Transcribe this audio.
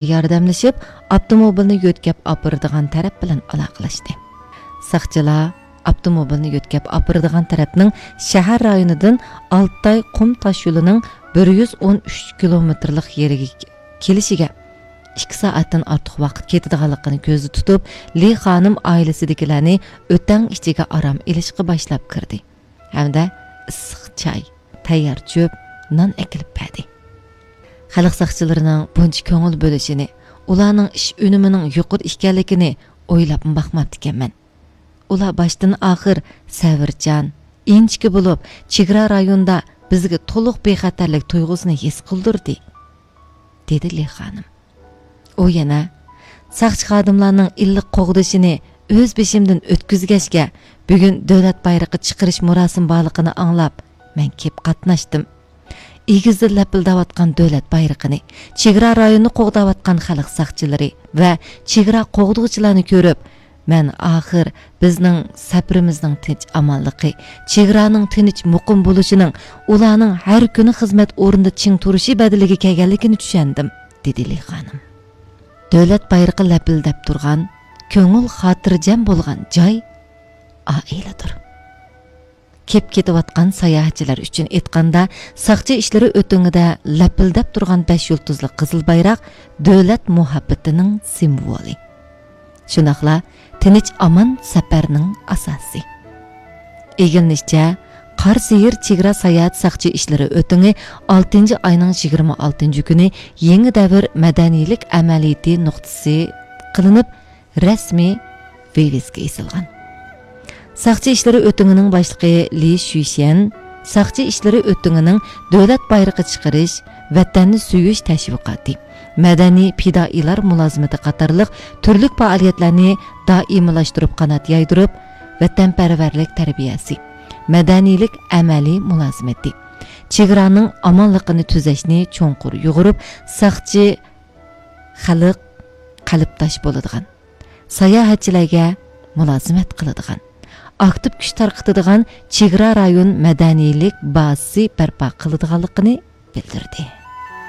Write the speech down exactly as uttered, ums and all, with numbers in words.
ياردەملىشىپ، ئاپتوموبىلنى يۆتكەپ ئاپىرىدىغان تەرەپ بىلەن ئالاقىلەشتى. ساقچىلار ئاپتوموبىلنى يۆتكەپ ئاپىرىدىغان تەرەپنىڭ شەھەر رايونىدىن ئالتاي قۇم تاش يولىنىڭ بىر يۈز ئون ئۈچ كىلومېتىرلىق يېرىگە كېلىشىگە ئىككى سائەتتىن ئارتۇق ۋاقىت كېتىدىغانلىقىنى كۆزدە تۇتۇپ، لى خانىم ئائىلىسىدىكىلەرنى ئۆتەڭ ئىچىگە ئارام ئېلىشقا باشلاپ كىردى ھەمدە ئىسسىق چاي، تەييار چۆپ، نان ئەكېلىپ بەردى. خەلق ساقچىلىرىنىڭ بۇنچە كۆڭۈل بۆلۈشىنى، ئۇلارنىڭ ئىش ئۈنۈمىنىڭ يۇقىرى ئىكەنلىكىنى ئويلاپمۇ باقماپتىكەنمەن. ئۇلار باشتىن ئاخىر سەۋرچان، ئىنچىكە بولۇپ، چېگرا رايونىدا بىزگە تولۇق بىخەتەرلىك تۇيغۇسىنى ھېس قىلدۇردى، دېدى لى خانىم. ئۇ يەنە، ساقچى خادىملارنىڭ ئىللىق قوغدىشىنى ئۆز بېشىمدىن ئۆتكۈزگەچكە، بۈگۈن دۆلەت بايرىقى چىقىرىش مۇراسىمى بارلىقىنى ئاڭلاپ، مەن كېلىپ قاتناشتىم. ئېگىزدىن لەپىلدەۋاتقان دۆلەت بايرىقىنى، چېگرا رايونىنى قوغداۋاتقان خەلق ساقچىلىرى ۋە چېگرا قوغدىغۇچىلارنى كۆرۈپ، مەن ئاخىر بىزنىڭ سەپىرىمىزنىڭ تىنچ-ئامانلىقى، چېگرانىڭ تىنچ، مۇقىم بولۇشىنىڭ ئۇلارنىڭ ھەر كۈنى خىزمەت ئورنىدا چىڭ تۇرۇشى بەدىلىگە كەلگەنلىكىنى چۈشەندىم، دېدى لى خانىم. دۆلەت بايرىقى لەپىلدەپ تۇرغان، كۆڭۈل خاتىرجەم بولغان جاي ئائىلىدۇر. كېپ كېتىۋاتقان ساياھەتچىلەر ئۈچۈن ئېيتقاندا، ساقچى ئىشلىرى ئۆتۈڭىدە لەپىلدەپ تۇرغان بەش يۇلتۇزلۇق قىزىل بايراق دۆلەت مۇھەببىتىنىڭ سىمۋولى. شۇنداقلا تىنچ-ئامان سەپەرنىڭ ئاساسى. ئىگىلىنىشىچە، قاراسېھىر چېگرا ساياھەت ساقچى ئىشلىرى ئۆتۈڭى ئالتىنچى ئاينىڭ يىگىرمە ئالتىنچى كۈنى يېڭى دەۋر مەدەنىيلىك ئەمەلىيىتى نۇقتىسى قىلىنىپ، رەسمىي ۋىۋىسكا ئېسىلغان. ساقچى ئىشلىرى ئۆتۈڭىنىڭ باشلىقى لى شۈيشيەن ساقچى ئىشلىرى ئۆتۈڭىنىڭ دۆلەت بايرىقى چىقىرىش، ۋەتەننى سۆيۈش تەشۋىقاتى، مەدەنىي پىدائىيلار مۇلازىمىتى قاتارلىق تۈرلۈك پائالىيەتلەرنى دائىملاشتۇرۇپ قانات يايدۇرۇپ، ۋەتەنپەرۋەرلىك تەربىيەسى، مەدەنىيلىك ئەمەلىي مۇلازىمىتى، چېگرانىڭ ئامانلىقىنى تۈزەشنى چوڭقۇر يۇغۇرۇپ، ساقچى خەلق قەلبداش بولىدىغان، ساياھەتچىلەرگە مۇلازىمەت قىلىدىغان، ئاكتىپ كۈچ تارقىتىدىغان چېگرا رايون مەدەنىيلىك بازىسى بەرپا قىلىدىغانلىقىنى بىلدۈردى.